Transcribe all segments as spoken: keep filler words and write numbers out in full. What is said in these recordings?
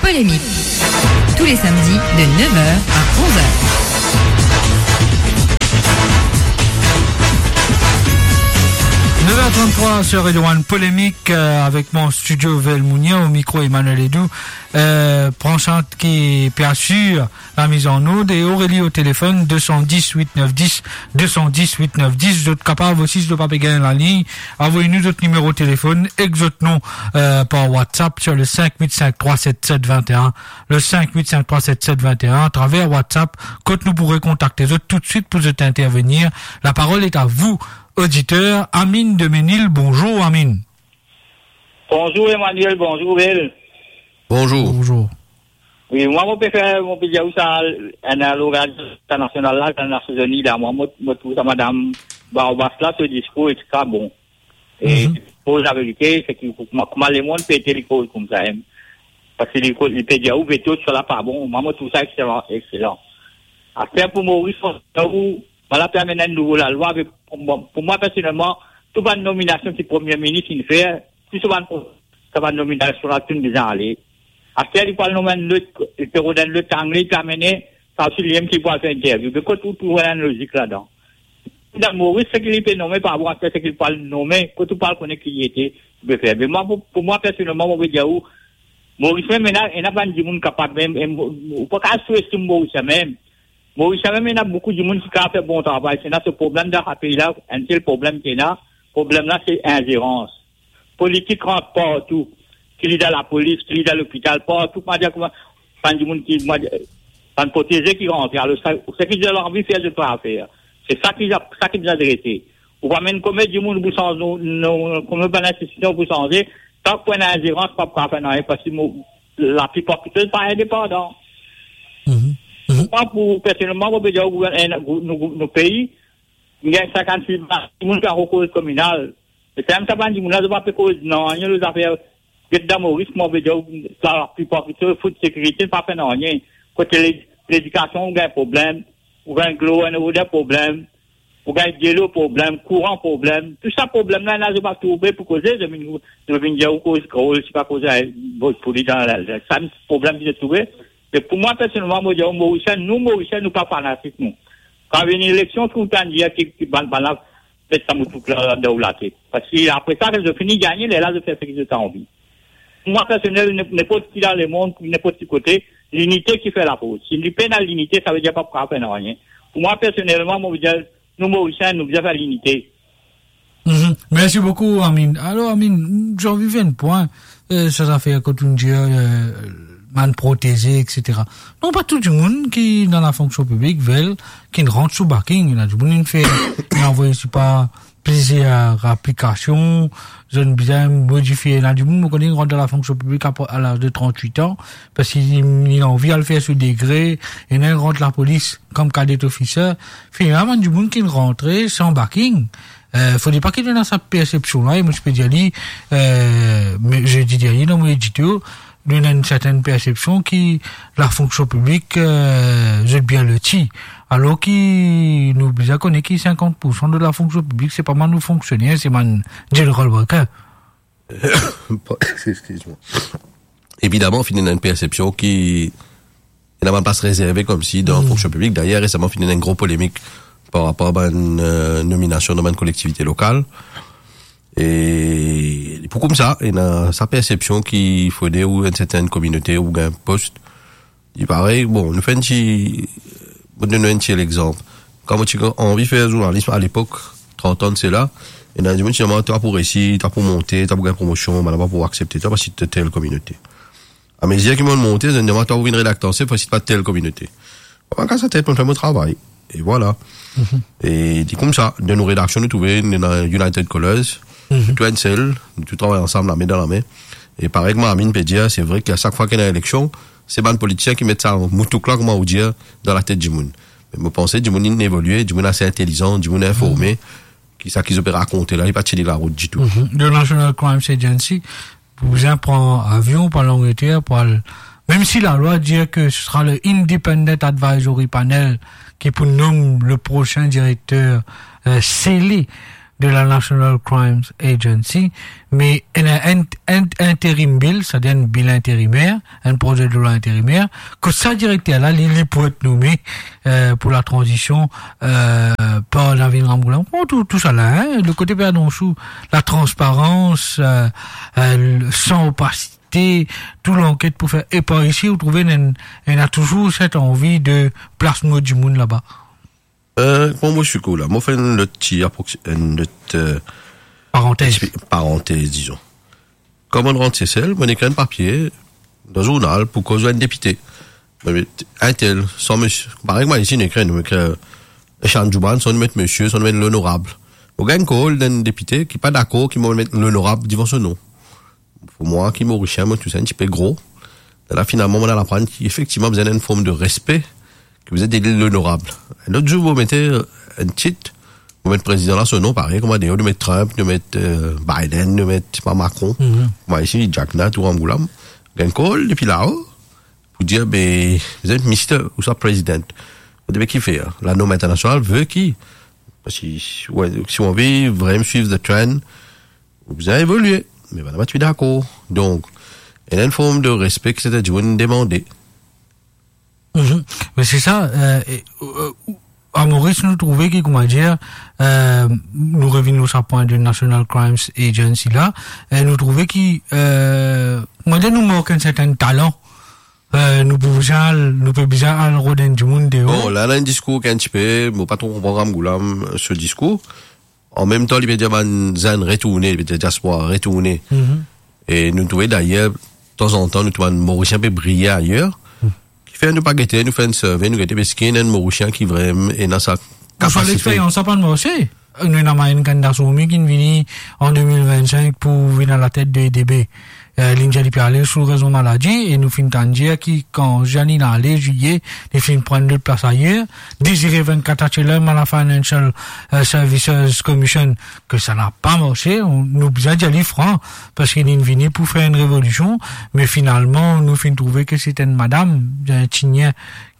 Polémique. Tous les samedis de neuf heures à onze heures. Neuf heures trente-trois sur Radio One, Polémique, euh, avec moi en studio, Vel Mounia, au micro, Emmanuel Edou. Euh, pran sa ki pe asir la mise en onde, et Aurélie au téléphone, deux cent dix, huit neuf dix, deux cent dix, huit neuf dix. Zot kapav osi, si zot pa pe gagn laliy, avoy nou zot nimero telefonn ek zot nom, euh, par WhatsApp sur le cinq huit cinq trois sept sept vingt et un, le cinq huit cinq trois sept sept vingt et un, à travers WhatsApp, kot nou pou rekontakte zot toutswit pou zot intervenir. La parole est à vous, auditeur. Amine de Menil, bonjour Amine. Bonzour Emmanuel, bonzour Vel. Bonzour. Bonzour. Wi, mwa mo pe fer, mo pe dir ou sa, enn lorganizasion internasional la, Nasion Zini la, mwa mo, mo trouv sa madam Barbas la, so diskour, etsetera, bon. E, mhm, pou laverite, se ki, kouma, kouma lemonn pe ete li koz koumsa, hein. Parski li ko-, li pe dir ou veto, sa la pa bon. Mwa mo trouv sa exselan, exselan. Aster pou Moris, ou Mo la pe amenn enn nouvo lalwa, me pou mwa, pou mwa personelman, tou bann nominasion ki Premie Minis inn fer, tou sa bann, sa bann nominasion la, tou inn bizin ale. Aster li pou al nom enn lot, li pe rod enn lot angle, li pe amene, sa osi li mem ki pou al fer interview. Me kot ou trouv enn lozik ladan? Dan Moris, seki li pe nome pa bon, aster seki li pou al nome, kot ou pou al kone ki li ete, li pe fer. Me mwa, pou, pou mwa personelman, mo pe dir ou, Moris mem, ena, ena bann dimoun kapav mem, e mo, ou pa kav souestim Moris mem. Moris la mem, ena boukou dimoun ki kapav fer bon travay. Ena so problem dan sa pei la, enn sel problem ki ena, problem la se inzerans. Politik rant partou, ki li dan lapolis, ki li dan lopital, partou, kouma dir, kouma, bann dimoun ki, kouma dir, bann proteze ki rantre. Alor, sa, seki zot anvi fer, zot pa fer. Se sa ki, sa ki bizin adrese. Ou pa amenn konbien dimoun pou sanz nou, nou, konbien bann institision pou sanze, tank pou ena inzerans, pa pou kapav fer nanye, parski mo, laplipar ki zot pa indepandan. Mhm. Mhm. Mwa, pou, personelman, mo pe dir ou, gouvern-, eh, nou, nou, nou pei, nou gagn sinkant-sis dimoun ki ankor koz kominal. E kan mem sa bann dimoun la, zot pa pe koz nanye lor zafer, get dan Moris, mo pe dir ou, laplipar ki zot fout sekirite, pa fer nanye. Kote le-, ledikasion, ou gagn problem, ou gagn dlo, ou gagn problem, ou gagn delo problem, kouran problem. Tou sa problem la, ena zot pa trouve pou koze, zot vinn, zot vinn dir ou koz krol, si pa koze, eh, Bhojpuri dan la, la, sa problem ki zot trouve. Me pou mwa, personelman, mo dir ou, Morisien, nou Morisien, nou pa fanatik, nou. Kan vini eleksion, tou tann dir ki, ki bann, bann la, met sa moutouk la dan ou latet. Parski apre sa, kan zot fini gagne, lerla zot fer seki zot anvi. Pou mwa personel, ne-, nenport ki dan lemond, nenport ki kote, linite ki fer lafors. Si li pena linite, savedir pa pou kapav fer nanye. Pou mwa personelman, mo dir, nou Morisien, nou bizin fer linite. Mhm. Mersi boukou, Amine. Alor, Amine, zot anvi fer enn pwin, eh, sa zafer kot ou dir, eh, bann proteze, etsetera. Non, pa tou dimoun ki dan lafonksion piblik, Vel, ki rant sou backing. Ena dimoun ki fer, ki anvoy, se pa, plizier aplikasion, zot bizin modifie. Ena dimoun, mo kone, rant dan lafonksion piblik a, a laz de trant-wit an, parski li, li anvi al fer so degre, ena rant lapolis kom cadet officer. Finn ena bann dimoun ki rantre san backing. Eh, fode pa ki nou ena sa persepsion la, e mo ti pe dir li, eh, me, zedi dernie, dan mo edito, nou ena enn sertenn persepsion ki lafonksion piblik, eh, zot bien loti. Alor ki nou bizin kone ki sinkant poursan de lafonksion piblik, se pa bann nou fonksioner, se bann general worker. Eskiz mwa. Evidaman, finn ena enn persepsion ki ena bann plas rezerve komsi dan, hmm, fonksion piblik. Dayer, resaman, finn ena enn gro polemik par rapor bann, eh, nominasion dan bann kolektivite lokal. E pou koumsa, ena sa persepsion ki fode ou enn sertenn kominote ou gagn pos. Li parey, bon, nou fer enn ti, mo donn nou enn ti lexanp. Kan mo ti anvi fer zournalis alepok, trant an de sela, ena dimoun ti dir mwa, twa pou resi, twa pou monte, twa pou gagn promosion, bann la pa pou aksepte twa parski to tel kominote. Amezir ki mo monte, zot dir mwa, twa pou vinn redakter an sef parski to pa tel kominote. Mo pa kas latet, mo fer mo travay. E vwala. Mhm. E li koumsa, dan nou redaksion, nou trouve, nou ena United Colors, mhm, nou tou enn sel, nou tou travay ansam, lame dan lame. E parey kouma Amine pe dir, se vre ki a sak fwa ki ena eleksion, se bann politisien ki met sa moutouk la, kouma ou dir, dan latet dimoun. Me mo panse dimoun inn evolie, dimoun ase intelizan, dimoun informe, mhm, ki sa ki zot pe rakonte la, li pa tini larout ditou. Mhm. The National Crimes Agency, pou bizin pran avion, pou al Angleter, pou al, mem si lalwa dir ke se sera le Independent Advisory Panel ki pou nom le prosin direkter, eh, sele, de la National Crimes Agency, me enn, enn, enn interim bill, savedir enn bill interimer, enn prozedilwa interimer, kot sa direkter la, li, li pou et nome, euh, pou la tranzisyon, euh, par Navin Ramgoolam. Bon, tou, tou sa la, hein, le kote pe anons ou, la transparans, euh, euh, le, san opasite, tou lanket pou fer. E par isi, ou trouve, ena, ena touzour set anvi de plas mo dimoun laba. Euh, kouma mo swikou la, mo fer enn lot ti aproxi-, enn lot, euh, Parantez. Expli-, parantez, dizon. Kan mo rant Sesel, mo ekrir enn papie dan zournal pou koz enn depite. Mo met intel, san misie. Parey kouma isi, nou ekrir, nou ekrir, euh, Echann Djouban, san nou met misie, san nou met lonorab. Mo gagn kol enn depite ki pa dakor ki mo met lonorab devan so nom. Pou mwa, ki Morisien, mo trouv sa enn tipe gro. La, finalman, mo al aprann ki efektivman bizin enn form de respe, ki bizin dir li lonorab. Lot zour, mo mete enn tit, mo met prezidan la so nom, parey kouma deor, nou met Trump, nou met, euh, Biden, nou met, pa, Macron. Mhm. Kouma isi, Jack Nat ou Ramgoolam. Gagn kol depi lao, pou dir, be, vous êtes Mister ou sa President. Be, kifer, la norm internasional ve ki, parski, si, ouais, si ou anvi vreman swiv the trend, ou bizin evolie. Me bann la pa ti dakor. Donk, ena enn form de respe ki sete dimoun demande. Mhm. Me se sa, euh, e, euh, a Moris, nou trouve ki, kouma dir, euh, nou revinn lor sa pwin de National Crimes Agency la, e nou trouve ki, euh, kouma dir, nou mank enn sertin talan. Euh, nou pou bizin al, nou pe bizin al rod enn dimoun deor. Bon, la, la enn diskour ki enn tipe, mo pa tro konpran Ramgoolam, euh, so diskour. An mem tan, li pe dir bann zenn retourne, li pe dir diaspora retourne. Mhm. E nou trouve dayer, tanzantan, nou trouve bann Morisien pe briye ayer. Hmm. Kifer nou pa gete, nou fer enn survey, nou gete, eski ena enn Morisien ki vreman ena sa kapasite. Ouswa lexperyans sa pa marse. Nou ena Mayen Kanda Soumi ki vini an de mil vennsenk pou vinn alatet de E D B. Eh, li dir li pe ale sou rezon maladi, e nou finn tann dir ki kan Jeanine ale, Zile, li finn pran lot plas ayer. Désiré Veinquart Achelam a la Financial, eh, Services Commission, ke sa napa marse, nou bizin dir li fran, parski li vini pou fer enn revolision, me finalman, nou finn trouve ke se enn madam, enn tinien,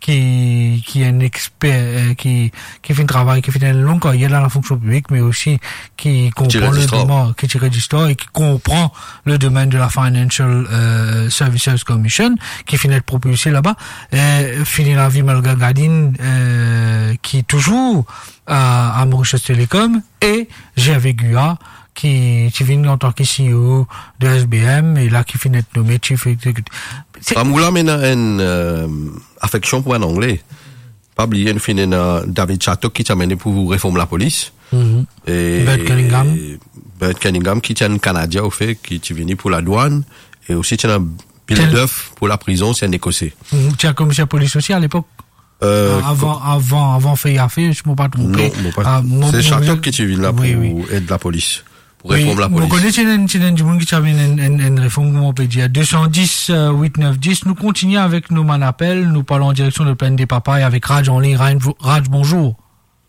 ki, ki enn exper, eh, ki, ki finn travay, ki finn enn long karyer dan lafonksion piblik, me osi ki konpran le domenn, ki ti rezistan e ki konpran le domenn de la Financial, eh, Services Commission, ki finn et propilse laba. Eh, fini lavi Malgal Gadin, eh, ki touzour a, a Mauritius Telecom, e Gervais Guya, ki ti vinn antan ki C E O de S B M, e la ki finn et nome Chief Executive. Se Ramgoolam ena enn, eh, afeksion pou bann Angle. Pa bliye, nou finn ena David Chadtock ki ti amenn li pou reform lapolis. Mhm. E Bert Cunningham. Bert Cunningham ki ti enn Kanadien, ofe, ki ti vini pou ladwann, e osi ti ena Bill Duff pou laprizon, se enn Ekose. Mhm. Ti enn komiser polis osi alepok. Eh, avan, avan, avan fer zafer, si mo pa tronpe. Non, mo pa. Ah, mo, se mo, Chadtock ki ti vinn la pou et lapolis, pou reform lapolis. Wi, mo kone ti ena, ti ena dimoun ki ti amenn enn, enn, enn reform, kouma ou pe dir, de san dis, eh, wit nef dis. Nou kontigne avek nou bann apel, nou pran direksion de Plaine des Papayes avek Raj anlign. Raj, bonzour.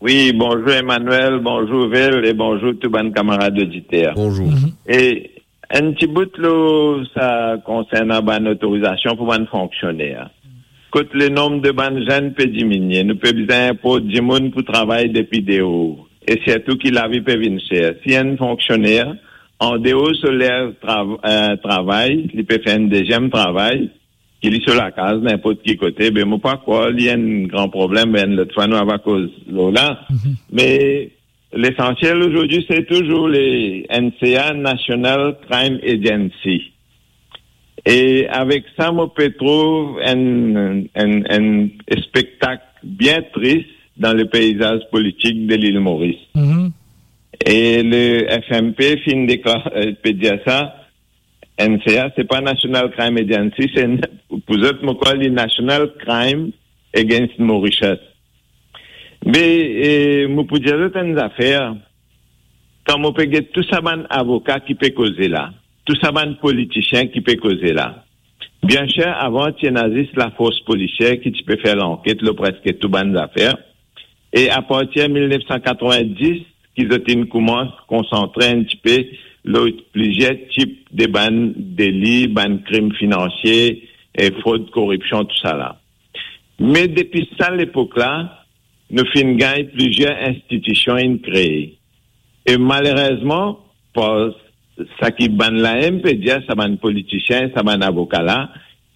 Wi, bonzour Emmanuel, bonzour Vel e bonzour tou bann kamarad oditer. Bonzour. Mhm. E enn ti bout lor sa konsernan bann otorizasion pou bann fonksioner. Kot lenom de bann zenn pe diminie, nou pe bizin inport dimoun pou travay depi deor, e sirtou ki lavi pe vinn ser. Si enn fonksioner, andeor so ler trav-, eh, travay, li pe fer enn deziem travay, ki li so lakaz, ninport ki kote, be mo pa krwar li enn gran problem, be enn lot fwa nou ava koz lor la. Mhm. Me lesansiel azordi, se touzour le N C A, National Crime Agency. E avek sa, mo pe trouv enn, enn, enn spektak bien tris dan le peizaz politik de Lil Moris. Mhm. E le F M P finn deklar-, eh, pe dir sa, N C A, se pa National Crime Agency, se n-, pou zot, mo krwar li National Crime Against Mauritius. Me, eh, mo pou dir zot enn zafer, kan mo pe get tou sa bann avoka ki pe koze la, tou sa bann politisien ki pe koze la, bien ser, avan ti ena zis lafors polisier ki ti pe fer lanket lor preske tou bann zafer. E apartir mil nef san katrovin-dis, ki zot inn koumans konsantre enn tipe lor plizier tip de bann deli, bann krim finansie, e frod, koripsion, tousala. Me depi sa lepok la, nou finn gagn plizier institision inn kree. E malerezman, par sa ki bann la mem pe dir, sa bann politisien, sa bann avoka la,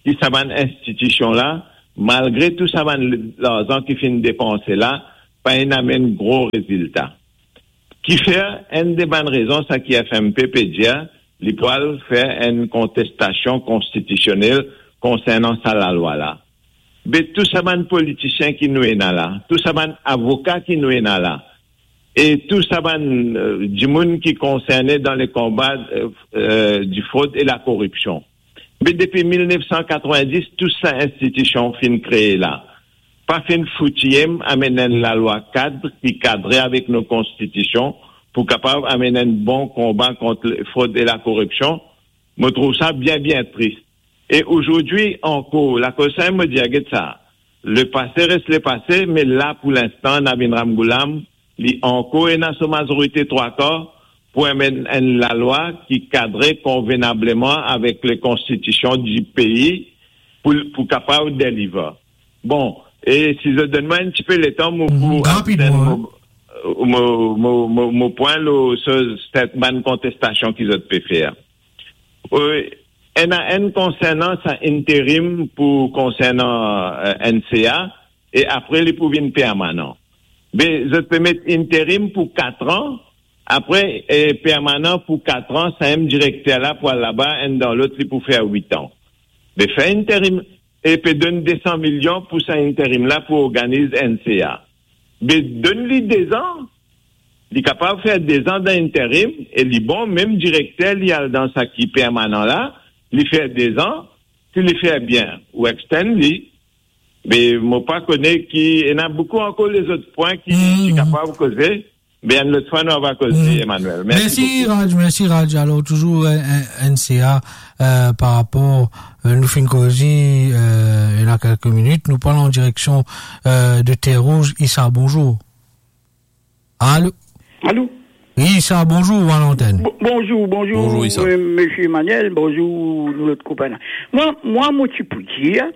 ki sa bann institision la, malgre tou sa bann larzan ki finn depanse la, pa inn amenn gro rezilta. Kifer, enn de bann rezon, sa ki F M P pe dir, li pou al fer enn kontestasion konstitisionel konsernan sa lalwa la. Be tou sa bann politisien ki nou ena la, tou sa bann avoka ki nou ena la, e tou sa bann, euh, dimoun ki konserne dan le konba, euh, euh, di frod e lakoripsion. Me depi mil nef san katrovin-dis, tou sa institision finn kree la, pa finn fouti amenn enn lalwa kad ki kadre avek nou konstitision pou kapav amenn enn bon konba kont frod e lakoripsion. Mo trouv sa bien, bien tris. E ozordi ankor, lakoz sa mo dir, get sa, lepase res lepase, me la pou linstan, Navin Ramgoolam, li ankor ena so mazorite trwa kar pou amenn enn lalwa ki kadre konvenableman avek le konstitision di pei pou, pou kapav deliver. Bon, e si zot donn mwa enn tipe letan, mo pou mo, mo, mo, mo, mo pran lo so, set bann kontestasion ki zot pe fer. Euh, ena enn konsernan sa interim pou konsernan, euh, N C A, e apre li pou vinn permanan. Be, zot pe met interim pou kat an, apre, e permanan pou kat an, sa mem direkter la pou al laba, enn dan lot, li pou fer wit an. Be, fer interim, e pe donn de san milion pou sa interim la pou organiz N C A. Be, donn li de zan, li kapav fer de zan dan interim, e li bon, mem direkter, li al dan sa ki permanan la, li fer de zan, si li fer bien, ou extend li, me mo pa kone ki, ena boukou ankor lezot pwin ki, ki kapav koze, me enn lot fwa nou ava koze, Emmanuel. Mersi boukou. Raj, mersi Raj. Alor, touzour, euh, euh, N C A, euh, par rapor, euh, nou finn koze, euh, ena kelke minit, nou pran an direksion, euh, de Terre Rouge. Issa, bonzour. Alo? Alo? Wi, sa, bonzour, ou a lantenn. Bo-, bonzour, bonzour, Bonzour, Issa. Euh, Monsieur Emmanuel, bonzour, nou lot konpagn la. Mwa, mwa, mo ti pou dir,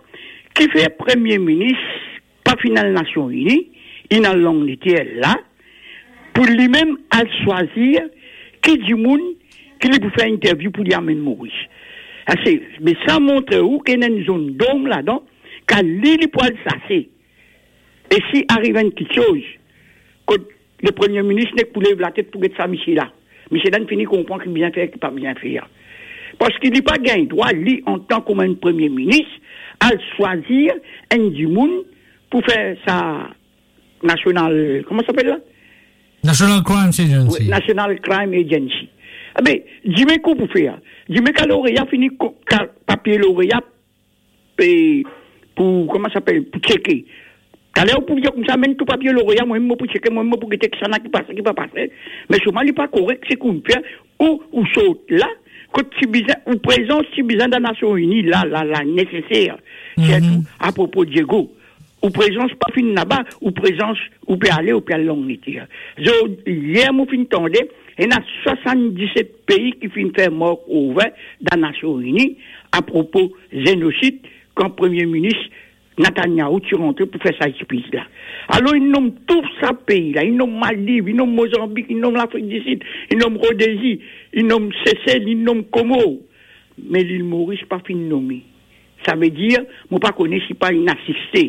kifer Premie Minis pa finn al Nasion Ini, inn al Langleter la, pou limem al swazir ki dimoun ki li pou fer interview pou li amenn Moris. Ase, me sa montre ou ki ena enn zonn dom ladan, kan li, li pou al sase. E si ariv enn kiksoz, kot le Premie Minis nek pou lev latet pou get sa misie la, misie la inn fini konpran ki bizin fer, ki pa bizin fer. Parski li pa gagn drwa, li, antan kouma enn Premie Minis, al swazir enn dimoun pou fer sa National, kouma sa apel la? National Crime Agency. Wi, National Crime Agency. Abe, dime ki ou pou fer? Dime kan loreya fini ko-, kan papie loreya pe, pou, kouma sa apel, pou tcheke. Taler ou pou dir koumsa, amenn tou papie loreya, mwa mem mo pou tcheke, mwa mem mo pou gete kisannla ki pase, ki pa pase. Me selman li pa korek seki ou fer, ou, ou sort la, kot ti bizin, ou prezans ti bizin dan Nasion Ini, la, la, la, neseser. Mhm. Sirtou apropo Diego. Ou prezans pa finn laba, ou prezans, ou pe ale, ou pe al Langleter. Zot, yer mo finn tande, ena swasann-diset pei ki finn fer mark over dan Nasion Ini apropo zenosid, kan Premie Minis Netanyahu ti rantre pou fer sa speech la. Alor, li nom tou sa pei la, li nom Maldiv, li nom Mozanbik, li nom Lafrik di Sid, li nom Rodezi, li nom Sesel, li nom Komor. Me Lil Moris pa finn nome. Savedir, mo pa kone si pa inn asiste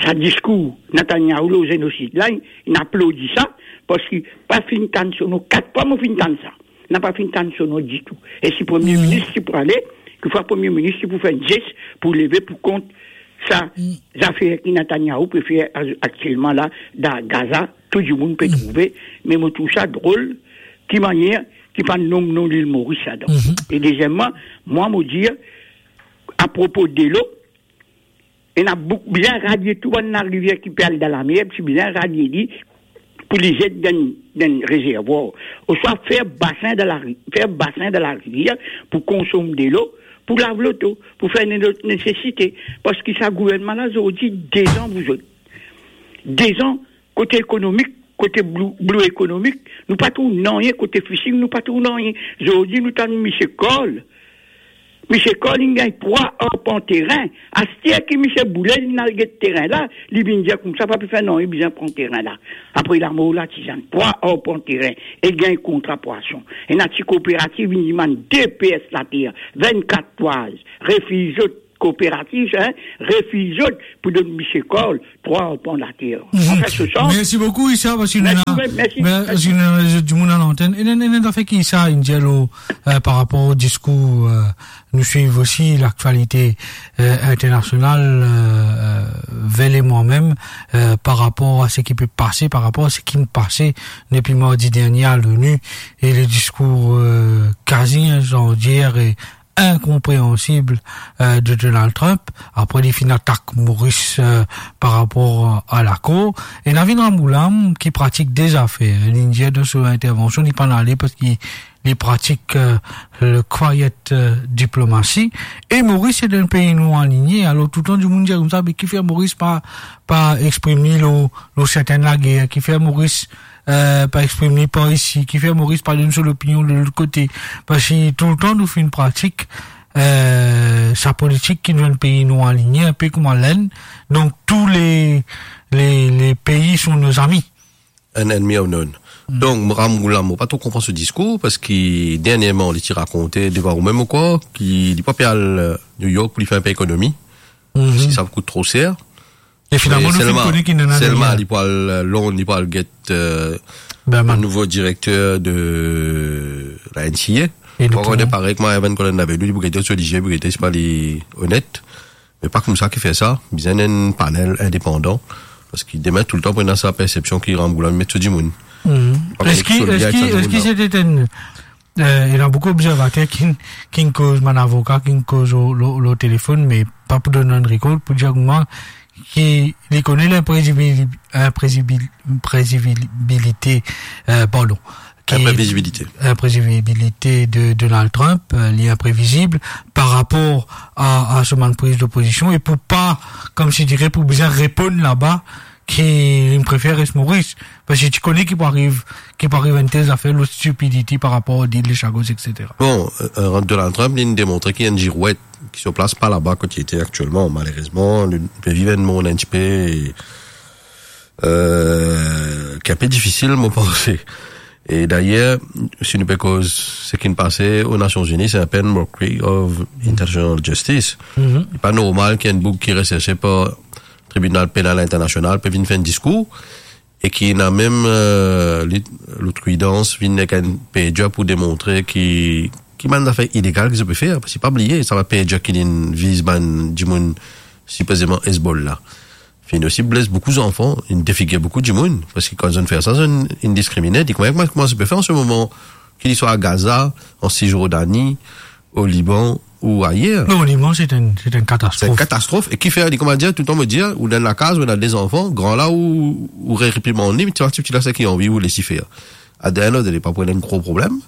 sa diskour Netanyahu lor zenosid la, inn aplodi sa, parski pa finn tann so nom, kat fwa mo finn tann sa. Napa finn tann so nom ditou. E si Premie Minis ti pou ale, kikfwa Premie Minis ti pou fer enn zes pou leve pou kont sa zafer ki Netanyahu pe fer a-, aktielman la, dan Gaza, tou dimoun pe trouve, me mo trouv sa drol, ki manier ki pa nom, nom Lil Moris ladan. E dezieman, mwa mo dir, apropo delo, ena bouk-, bizin radie tou bann larivier ki pe al dan lamer, ti bizin radie li pou li zet dan, dan rezervwar, ouswa fer basin dan lari-, fer basin dan larivier pou konsom delo, pou lav loto, pou fer ne-, lot nesesite, parski sa gouvernman la, zordi, dezan vouzot. Dezan, kote ekonomik, kote blou, blou ekonomik, nou pa trouv nanye, kote fishing, nou pa trouv nanye. Zordi, nou tann misie Carl, Misie Cole, li gagn trwa arpan terin. Aster ki misie boule, li al get terin la, li vinn dir koumsa, pa pe fer nanye, bizin pran terin la. Apre lamor la, ti zame trwa arpan terin, e gagn kontra pwason. Ena ti kooperativ, vinn dimann de PS later, vennkat twaz, refiz zot kooperativ, hein, refiz zot pou donn misie Cole trwa arpan later. Anfin, se sa. Mersi boukou, Issa, parski nou ena, mersi, mersi, mersi, nou ena dimoun a lantenn. E, e, e, anfin, ki Issa inn dir, euh, par rapor o diskour, euh, nou swiv osi laktialite, euh, internasional, euh, euh, Vel e mwa mem, euh, par rapor a seki pe pase, par rapor a seki pase depi mardi dernie a l'ONU, e le diskour, euh, kazi insandier e inkonpreansib, euh, de Donald Trump. Apre, li finn atak Moris, euh, par rapor a lakor. E Navin Ramgoolam, ki pratik de zafer, li dir dan so intervansion, li pa'nn ale parski li pratik, euh, le quiet, euh, diplomatie. E Moris se enn pei nou aligne. Alor, toultan dimoun dir koumsa, me kifer Moris pa, pa exprim li lor, lor sertenn lager, kifer Moris, euh, pa exprim li par isi, kifer Moris pa donn so lopinion de lot kote. Parski toultan nou finn pratik, euh, sa politik ki nou enn pei nou aligne, inpe kouma Lenn. Donk, tous les, les, les pays sont nos amis. Enn ennmi a nou. Donk, Ramgoolam, mo pa tro konpran so diskour, parski dernierman, li ti rakonte devan ou mem, ou krwar, ki li pa pe al, euh, New York pou li fer inpe ekonomi, parski sa kout tro ser. E finalman, nou finn kone ki nana deryer. Selman, li pou al, euh, Lond, li pou al get, euh, le nouvo direkter de la NCA. Parey kouma Evan Collins inn dir, li pou gete so lizie, pou gete si pa li onet. Me pa koumsa ki fer sa, bizin enn panel indepandan, parski demin toultan pou ena sa persepsion ki Ramgoolam met so dimoun. Eski, eski, eski se enn, euh, ena boukou obzervater ki, ki koz, bann avoka ki koz lor, lor, lor telefonn, me pa pou donn enn rekord, pou dir mwa ki li kone linprezibil-, inprezibil-, inprezibilite, euh, pardon, ki inprevizibilite. Inprevizibilite de Donald Trump, euh, li inprevizib par rapor a, a so bann priz de pozision, e pou pa, koumsi dire, pou bizin reponn laba, ki li prefer res Moris, parski ti kone ki pou ariv, ki pou ariv enn tel zafer, lot stupidity par rapor a deal, les chagos, et cetera. Bon, euh, euh, Donald Trump, li demontre ki enn zirwet, ki so plas pa laba kot li ete aktielman, malerezman, li pe viv enn mond enn tipe, euh, ki inpe difisil, mo panse. E dayer, si nou pe koz seki pase o Nasion Zini, se inpe enn mockery of international justice. Li pa normal ki enn boug ki reserse par Tribinal Penal Internasional pe vinn fer enn diskour, e ki ena mem, euh, li, lot kandida vinn ek enn perjure pou demontre ki, ki bann zafer ilegal ki zot pe fer, parski pa bliye, sa bann perjure ki inn viz bann dimoun sipozeman Hezbollah. Finn osi bles boukou zanfan, inn defigir boukou dimoun, parski kan zot inn fer sa, zot inn, inn diskrimine. Li kouma, kouma, kouma sa pe fer an se moman, ki li swa a Gaza, an Sisjordani, o Liban ou ayer. Non, o Liban, se enn, se enn katastrof. Se enn katastrof. E ki fer, li kouma dir, toultan mo dir, ou dan lakaz, ou ena de zanfan, gran la, ou, ou reprimann li, ti, ti, ti la, seki anvi, ou les li fer. At the end of the day, pa pou enn gro problem.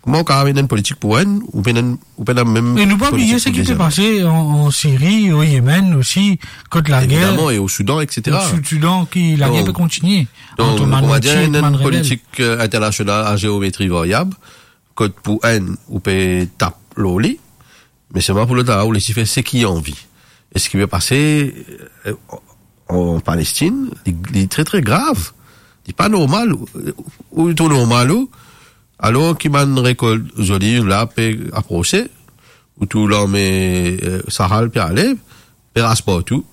Kouma ou kapav amenn enn politik pou enn, ou pena, ou pena mem politik pou deziem. E nou pa bliye seki pe pase an, an Siri, o Yemen osi, kot lager. Evidaman, e o Soudan, et cetera. O Soudan, ki lager pe kontigne. Donk, donk, kouma dir, enn politik, euh, internasional a zeometri variab, kot pou enn, ou pe tap lor li, me selman pou lot la, ou les li fer seki li anvi. E seki pe pase, euh, an Palestin, li, li tre, tre grav. Li pa normal. Ou, ou trouv normal, ou, alor ki bann rekolt zoliv la pe aprose, ou trouv larme, euh, Sahel pe ale, pe ras partou.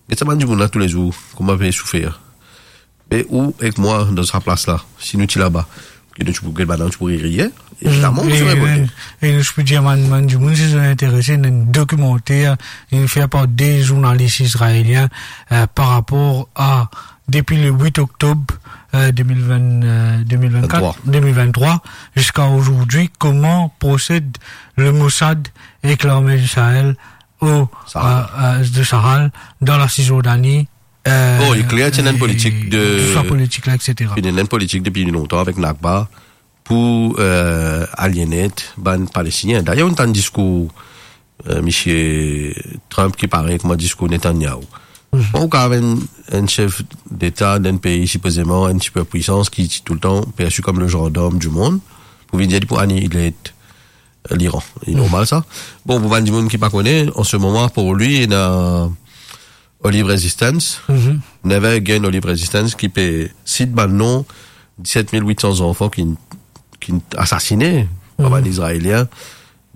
Get sa bann dimoun la toulezour, kouma pe soufer. Me ou ek mwa dan sa plas la, si nou ti laba, ki nou ti pou get bann, nou ti pou riye, evidaman, nou ti pou revolte. E nou ti pou dir bann, bann dimoun, si zot interese, ena enn dokimanter, inn fer par de zournalis izraelien, euh, par rapor a, depi le huit octobre, euh, deux mille vingt, euh, deux mille vingt-quatre, vingt-trois. Deux mille vingt-trois, ziska azordi, kouma prosed le Mossad ek larme Israel o, Sahel. Euh, euh, de Sahel, dan la Sisjordani, euh, bon, li kler, ti ena enn politik de, swa politik la, et cetera. Li ena enn politik depi lontan avek Nakba pou, euh, aliene bann Palestinien. Dayer, inn tann diskour, euh, misie Trump ki parey kouma diskour Netanyahu. Bon, ou kapav enn, enn sef deta dan enn pei sipozeman enn siperpwisans ki, ki toultan persi kom le zandarm di mond, pou vinn dir li pou anile Liran. Li normal sa. Bon, pou bann dimoun ki pa kone, an se moman, pou li, ena Olive Resistance. Mhm. Never again Olive Resistance ki pe sit bann non diset mil wit san zanfan ki, ki asasine par bann Izraelien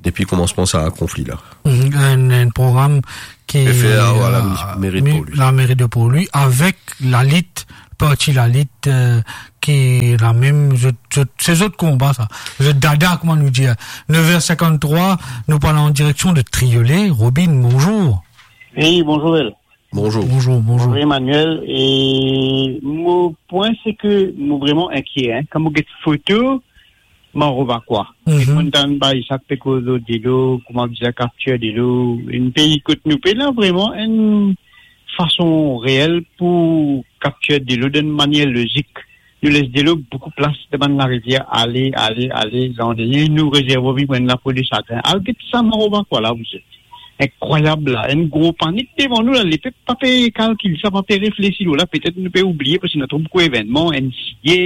depi koumansman sa konfli la. Mhm. Enn, enn program ki, Pe fer, euh, la meri de Port-Louis. La meri de Port-Louis, avek Lalit, parti Lalit, euh, ki la mem, zot, zot, se zot konba sa. Zot dada, kouma nou dir. Nev er sinkant-trwa, nou pran an direksion de Triolet. Robin, bonzour. Wi, bonzour, El. Bonzour. Bonzour, bonzour. Bonzour, Emmanuel. E mo pwin, se ke mo vreman inkie, en. Kan mo get foto, mo revwa kwa. Mhm. Ek mo tann bann sa ki pe koz delo, kouma bizin kaptir delo. Enn pei kot nou pe la, vreman enn fason reel pou kaptir delo dan enn manier lozik. Nou les delo boukou plas dan bann larivier, ale, ale, ale, zan dernie, nou rezerv vinn enn lapo de sagrin. Al get sa, mo revwa kwa la, vous êtes. Inkrwayab la, enn gro panik devan nou la, lepep pa pe kalkil sa, pa pe reflesi lor la, petet nou pe oublie, parski ena tro boukou evennman, N C A,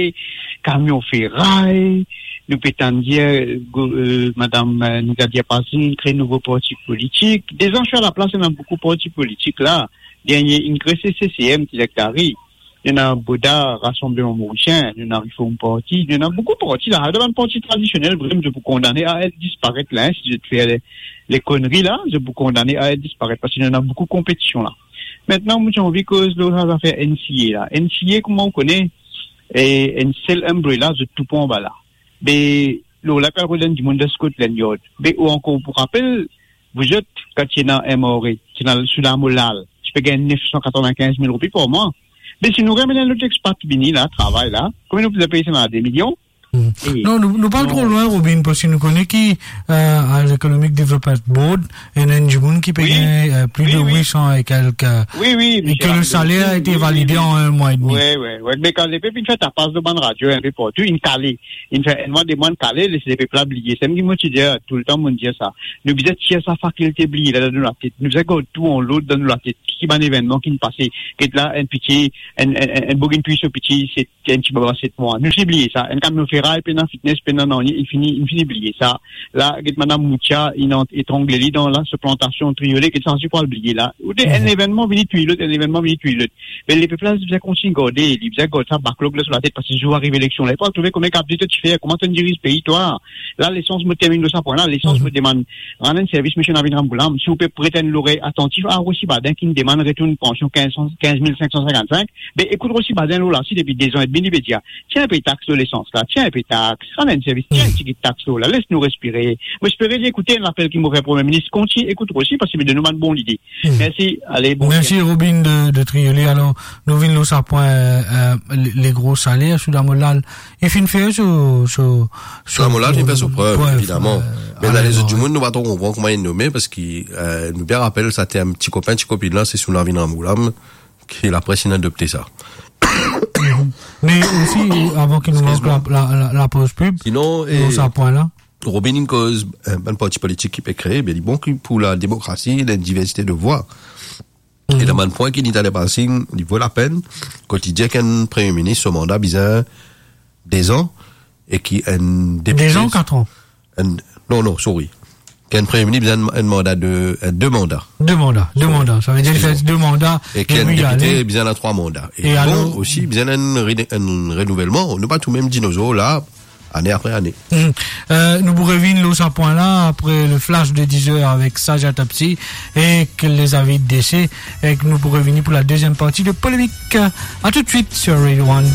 kamion feray, nou pe tann dir, euh, go-, euh, madam, euh, Nigadia Pazin kre nouvo parti politik. Deza, si a laplas, ena boukou parti politik la. Dernie, inn kre se C C M ki deklare. Nou ena Boda, Rasanbleman Morisien, nou ena Reform Parti, nou ena boukou parti la. Sa bann parti tradisionel, vremem, zot pou kondane a et disparet la, en, si zot fer le, le konri la, zot pou kondane a et disparet, parski nou ena boukou konpetision la. Aster, mo ti anvi koz lor sa zafer N C A la. N C A, kouma ou kone, e enn sel umbrella, zot tou pran anba la. Be, lor la, kan ou donn dimoun dan Scotland Yard. Be, ou ankor pou rapel, vous êtes, kan ti ena M R A, ti ena sou lamo lal, ti pe gagn nef san katrovin-kinz mil roupi par mwa. Be, si nou ramenn enn lot expat vini la, travay la, konbien nou pou pey sa, de milion? Hmm. E Non, nou, nou pa al tro lwin, Robin, parski nou kone ki, euh, a l'Economic Development Board, ena enn dimoun ki pe Wi. gagn, euh, plis Wi, de wi. wit san e kelk, euh, Wi, wi, e misier ke le Abdel saler a Hakim, ete wi, wi, valide wi. an enn mwa edmi. Wi, wi, wi. Me kan lepep inn fer tapas dan bann radio, inpe partou, inn kale. Inn fer enn mwa, de mwa, inn kale, les lepep la bliye. Sa mem ki mo ti dir, toultan mo dir sa. Nou bizin tir sa fakilte bliye la dan nou latet. Nou bizin gard tou an lord dan nou latet. Ki bann evennman ki'nn pase? Get la, enn piti, enn, enn, enn, enn boug inn touy so piti, se enn ti baba set mwa. Nou fini bliye sa. Enn kamion feray, pena fitness, pena nanye, inn fini, inn fini bliye sa. La, get madam Moutia, inn ant-, etrangle li dan la, so plantasion Triolet, get sa osi pou al bliye la. Ou de, enn Mhm. evennman vini touy lot, enn evennman vini touy lot. Me lepep la, li bizin kontign garde, li bizin gard sa backlog la so latet, parski zour ariv eleksion la, li pou al trouve kouma kapav dir to ti fer, kouma to diriz pei, twa. La, lesans, mo terminn lor sa pwin la, lesans, Mhm. mo demann, rann enn servis, misie Navin Ramgoolam, si ou pe pret enn lorey atantif a Rossy Baden, ki'nn demann retourn pansion kinz san, kinz mil sink san sinkant-sink, be, ekout Rossy Baden lor la, si depi de zan edmi, li pe dir, tir inpe tax lor lesans la, tir inpe tax, rann enn servis, tir enn tigit tax lor la, les nou respire. Mo espere li ekoute enn lapel ki mo fer Premie Minis, kontign ekout Rossy, parski li donn nou bann bon lide. Hmm. Mersi, ale, bon Mersi, week-end. Robin de, de Triolet. Alor, nou vinn lor sa pwin, euh, euh, le, le gro saler, sou lamo lal. Li finn fer so, so, so, Sou lamo lal, li finn fer so prev, prev, evidaman. euh, Me dan ale, lezot bon, dimoun, nou pa tro konpran kouma inn nome, parski, euh, nou bien rapel, sa ti enn ti kopin, ti kopinn la, se sou Navin Ramgoolam, ki lapres inn adopte sa. Me osi, avan ki nou Excuse-moi. mank la, la, la, lapoz pib, Sinon, lor eh, sa pwin la. Robin inn koz, euh, bann parti politik ki pe kree, be li bon ki pou lademokrasi, la diversite de vwa. Mhm. E dan bann pwin ki li ti ale pase, li vo lapenn, kot li dir ki enn Premie Minis, so manda bizin de zan, e ki enn depite De zan, kat an? Enn, non, non, sorry. Ki enn Premie Minis bizin enn, enn manda de, enn de manda. De manda, de Sorry. manda. Sa ve dir li fer Excuse-moi. de manda, E ki enn epi li depite ale. bizin ena trwa manda. E E bon, alor osi, bizin enn re-, enn renouvelman. Nou pa toumem dinozor la, ane apre ane. Hmm. Euh, nou pou revinn lor sa pwin la apre le flash de diz er avek Saja Tapsi ek les avis de décès, e nou pou revinn pou la deziem parti de Polemik. A tout de suit sur Radio One.